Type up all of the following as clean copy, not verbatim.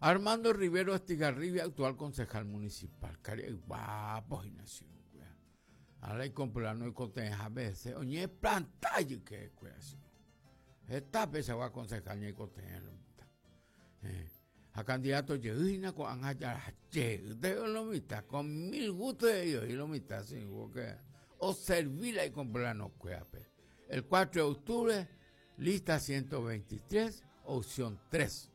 Armando Rivero Estigarribia, actual concejal municipal. Karia'y guapo hína che irũnguéra. Ala icomplano oikotevẽha veces oñeplanta ijykekuéra che irũ. Heta peichagua concejal ñaikotevẽ lo mitã. Eh, ha candidato jey hína ko'ág̃a jara jey lo mitã con mil gusto he'i oĩ lo mitã che irũ porque oservi la icomplanokuérape. El 4 de octubre, lista 123, opción 3.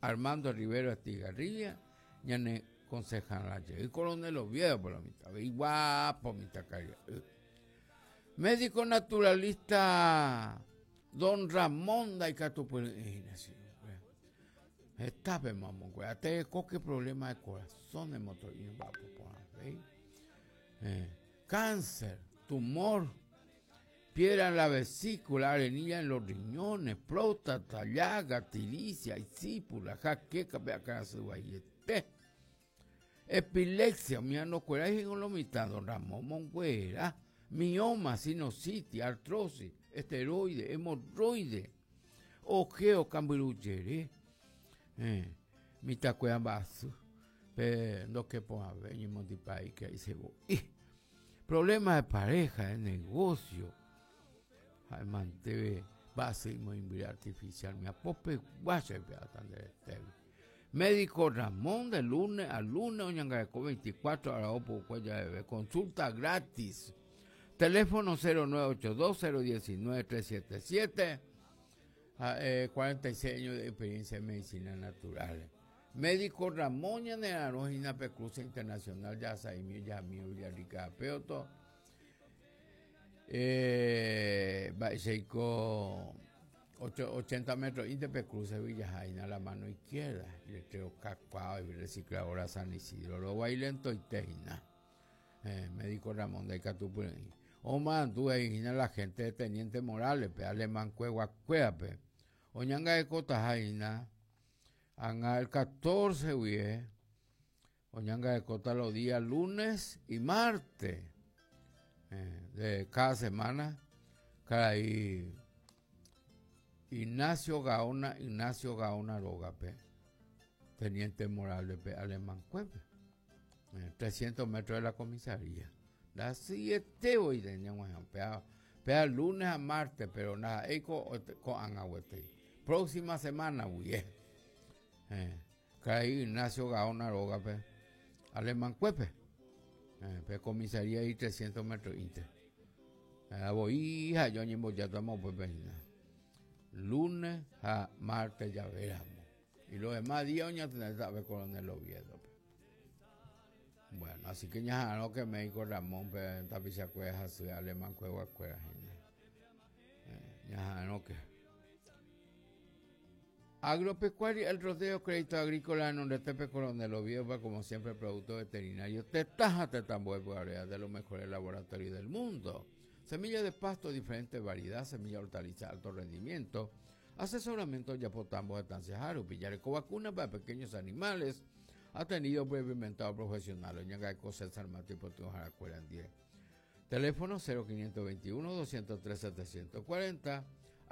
Armando Rivero Estigarribia, ñane concejala jey Coronel Oviedo por la mitad, iguapo mitã karia'y. Médico naturalista Don Ramón ndaikatupyry'ỹ hína che irũnguéra. Hetápe mamonguéra, terekóke problema de corazón emoto'i mba'apo porãvéi. Eh, cáncer, tumor, Piedra en la vesícula, arenilla en los riñones, próstata, llaga, tiricia, isípula, jaqueca, pe akãrasy vaiete. Epilepsia, umi anokuerái he'ívo lo mitã, don Ramón monguera, mioma, sinusitis, artrosis, esteroide, hemorroide, ojeo, kambyrujere, eh, mitãkuéra mba'asy, pe ndokepo'ãve ñemondypaíke isevo'i. Problema de pareja, de negocio. Ha'e manteve mba'asy imoĩmbyre artificial miapopegua che pe'áta nde retégui. Médico Ramón de lunes a lunes oñangareko 24 ára opukue javeve. Consulta gratis. Teléfono 0982 019 377. Ha'e 46 años de experiencia en medicina natural. Médico Ramón ñanerarõ hína pe Cruce Internacional Jahasaimi Ojahami Villarrica ha Peoto. Eh, mba'eichaiko 80 metros inte pe cruce Villaha hína la mano izquierda. Letrero kakuaa recicladora San Isidro rovái lentoite hína. Eh, médico Ramón ndaikatupyre'ỹ. Omomarandu he'i hína la gente de Teniente Morales pe alemán kueguakuérape. Oñangarekotaha hína Ág̃a el 14 guive oñangarekóta los días lunes y martes eh, de cada semana karai Ignacio Gaona, Ignacio Gaona rógape, Teniente Morales-pe, Alemán-kuépe, 300 eh, metros de la comisaría. Ndahasyiete voi ñag̃uahẽ péa, péa lunes ha martes, pero ndaha'éi ko'ág̃a gueteri. Próxima semana guie. Eh, karai Ignacio Gaona rógape, Alemán-kuépe, eh, pe comisaría ahí 300 metros inte. Eh, voi ha yo añembojátama upépe hína. Lunes ha martes javéramo. Y los demás días oñatendéta ave Coronel Oviedo-pe. Bueno, así que ñaha'arõ que médico Ramón pe tapichakuéra hasy alemán kueguakuéra hína. Eh, ñaha'arõ que. Agropecuaria El Rodeo, Crédito Agrícola renondete Coronel Oviedo, como siempre, producto veterinario, tetã ha tetãmbue py'aréva de los mejores laboratorios del mundo. Semilla de pasto, diferente variedad, semilla hortaliza, alto rendimiento. Asesoramiento ojapo tambo estancia rupi, jareko vacuna para pequeños animales, atendido previmentado profesional, oñangareko César Mati Potyharakuéra ndie. Teléfono 0521 203 740.